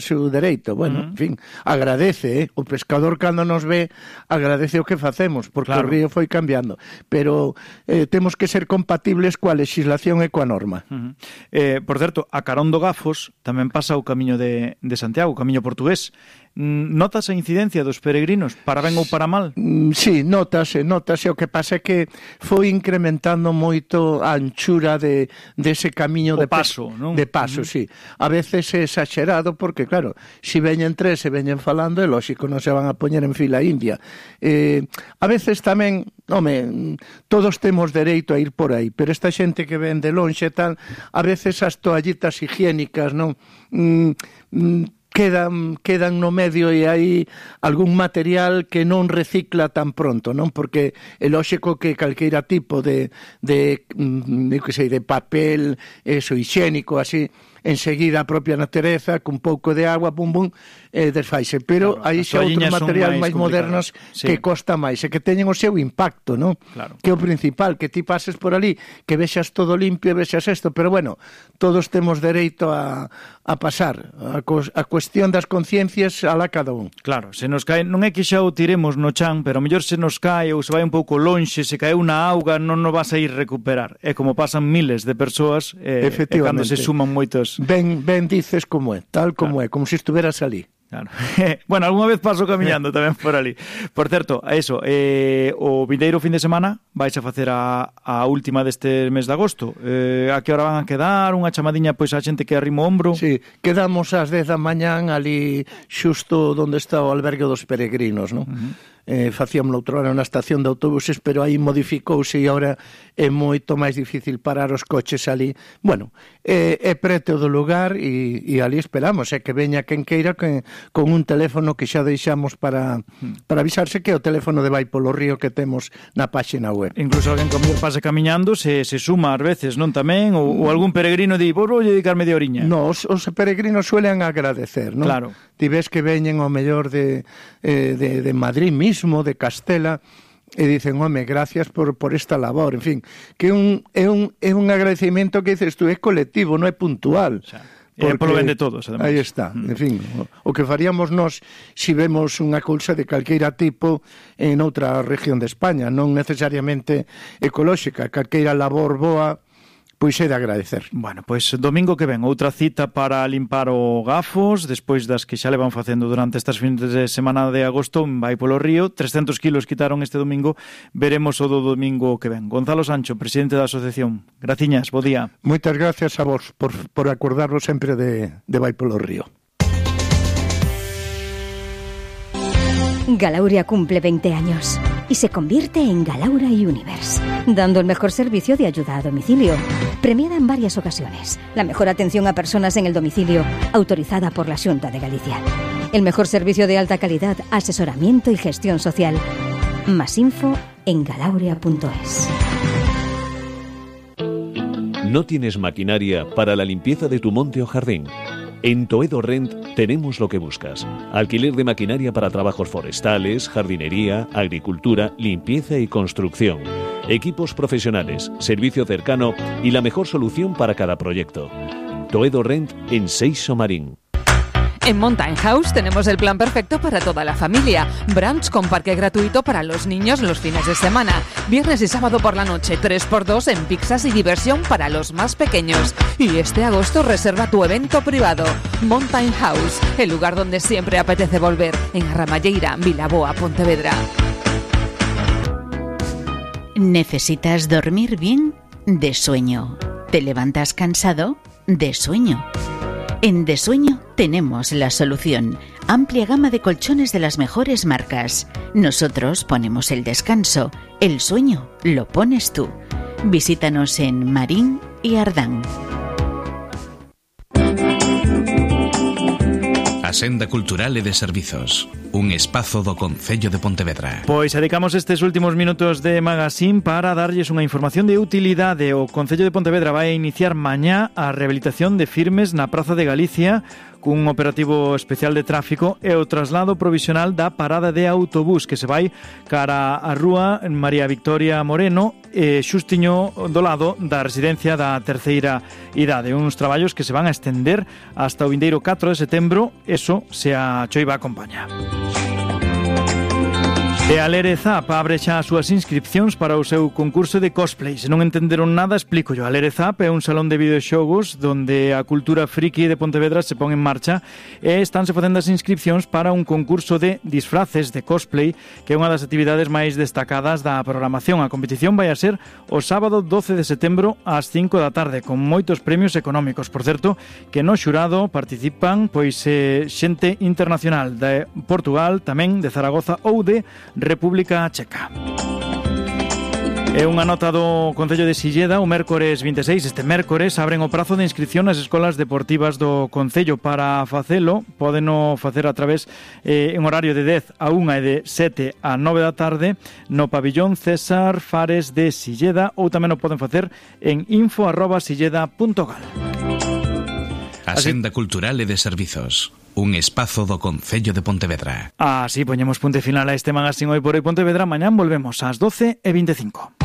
seu dereito. Bueno, en fin, agradece, o pescador cando nos ve agradece o que facemos, porque o río foi cambiando, pero temos que ser compatibles coa legislación e coa norma. Por certo, a carón do Gafos tamén pasa o camiño de Santiago, o camiño portugués. Notas a incidencia dos peregrinos, para ben ou para mal? Sí, notase, o que pasa é que foi incrementando moito a anchura dese camiño de paso, non? De paso, sí. A veces é exagerado porque, claro, se veñen tres e veñen falando, é lógico, non se van a poñer en fila india. A veces tamén, todos temos dereito a ir por aí, pero esta xente que ven de lonxe tal, a veces as toallitas higiénicas, non? Quedan no medio e hai algún material que non recicla tan pronto, non? Porque é lógico que calqueira tipo de papel, higiénico, así, enseguida a propia natureza, cun pouco de agua, desfaise. Pero aí xa outros materiais máis modernos que costa máis e que teñen o seu impacto, non? Que é o principal, que ti pases por ali, que vexas todo limpio, vexas isto, pero bueno, todos temos dereito a pasar. A cuestión das conciencias alá cada un. Claro, se nos cae, non é que xa o tiremos no chan, pero a mellor se nos cae ou se vai un pouco lonxe, se caeu na auga, non nos vas a ir recuperar. É como pasan miles de persoas e cando se suman moitos. Ben dices como é, tal como é, como se estuveras ali. Claro. Bueno, algunha vez paso camiñando tamén por ali. Por certo, o vindeiro fin de semana vais a facer a última deste mes de agosto. A que hora van a quedar? Unha chamadiña pois a xente que arrima o ombro? Sí, quedamos ás 10 da mañán ali xusto onde está o albergue dos peregrinos, non? Facíamos outra hora na estación de autobuses, pero aí modificouse e agora é moito máis difícil parar os coches ali. Bueno, é preto do lugar e ali esperamos, que veña quen queira con un teléfono que xa deixamos para avisarse, que é o teléfono de Vai polo Río que temos na páxina web. Incluso alguén como pase camiñando se suma ás veces, non tamén? Ou algún peregrino di, vou dedicar media oriña. No, os peregrinos suelen agradecer, non? Claro. Ti ves que veñen ao mellor de Madrid mismo, de Castela, e dicen, gracias por esta labor, en fin, que é un agradecimiento que dices tú, é colectivo, non é puntual. Polo ben de todos, además. Aí está, en fin, o que faríamos nós se vemos unha cousa de calqueira tipo en outra región de España, non necesariamente ecolóxica, calqueira labor boa, pois é de agradecer. Bueno, pois domingo que ven, outra cita para limpar o Gafos, despois das que xa le van facendo durante estas fines de semana de agosto, Vai polo Río, 300 kilos quitaron este domingo, veremos o do domingo que ven. Gonzalo Sancho, presidente da asociación, graciñas, bo día. Moitas gracias a vos por acordarnos sempre de Vai polo Río. Galauria cumple 20 años y se convierte en Galaura Universe, dando el mejor servicio de ayuda a domicilio. Premiada en varias ocasiones, la mejor atención a personas en el domicilio, autorizada por la Xunta de Galicia. El mejor servicio de alta calidad, asesoramiento y gestión social. Más info en galauria.es. ¿No tienes maquinaria para la limpieza de tu monte o jardín? En Toedo Rent tenemos lo que buscas. Alquiler de maquinaria para trabajos forestales, jardinería, agricultura, limpieza y construcción. Equipos profesionales, servicio cercano y la mejor solución para cada proyecto. Toedo Rent en Seixo Marín. En Mountain House tenemos el plan perfecto para toda la familia. Brunch con parque gratuito para los niños los fines de semana. Viernes y sábado por la noche, 3x2 en pizzas y diversión para los más pequeños. Y este agosto reserva tu evento privado. Mountain House, el lugar donde siempre apetece volver. En Arramalleira, Vilaboa, Pontevedra. ¿Necesitas dormir bien? De sueño. ¿Te levantas cansado? De sueño. En De Sueño tenemos la solución. Amplia gama de colchones de las mejores marcas. Nosotros ponemos el descanso. El sueño lo pones tú. Visítanos en Marín y Ardán. A Senda Cultural e de Servizos, un espazo do Concello de Pontevedra. Pois dedicamos estes últimos minutos de Magazine para darlles unha información de utilidade. O Concello de Pontevedra vai iniciar mañá a rehabilitación de firmes na Praza de Galicia cun operativo especial de tráfico e o traslado provisional da parada de autobús que se vai cara a rúa María Victoria Moreno xustiño do lado da residencia da terceira idade. Uns traballos que se van a estender hasta o vindeiro 4 de setembro, eso se a choiva acompaña. E a Lerezap abre xa as súas inscripcións para o seu concurso de cosplay. Se non entenderon nada, explícollo. A Lerezap é un salón de videoxogos donde a cultura friki de Pontevedra se pon en marcha e estánse facendo as inscripcións para un concurso de disfraces de cosplay que é unha das actividades máis destacadas da programación. A competición vai a ser o sábado 12 de setembro ás 5 da tarde con moitos premios económicos. Por certo, que no xurado participan pois xente internacional de Portugal, tamén de Zaragoza ou de República Checa. É unha nota do Concello de Silleda. O mércores 26, este mércores, abren o prazo de inscripción nas escolas deportivas do Concello. Para facelo, podeno facer a través en horario de 10 a 1 e de 7 a 9 da tarde no pabillón César Fares de Silleda, ou tamén o poden facer en info@silleda.gal. Axenda Cultural e de Servizos, un espazo do Concello de Pontevedra. Así poñemos punto final a este magazín Hoy por Hoy Pontevedra. Mañán volvemos ás 12:25.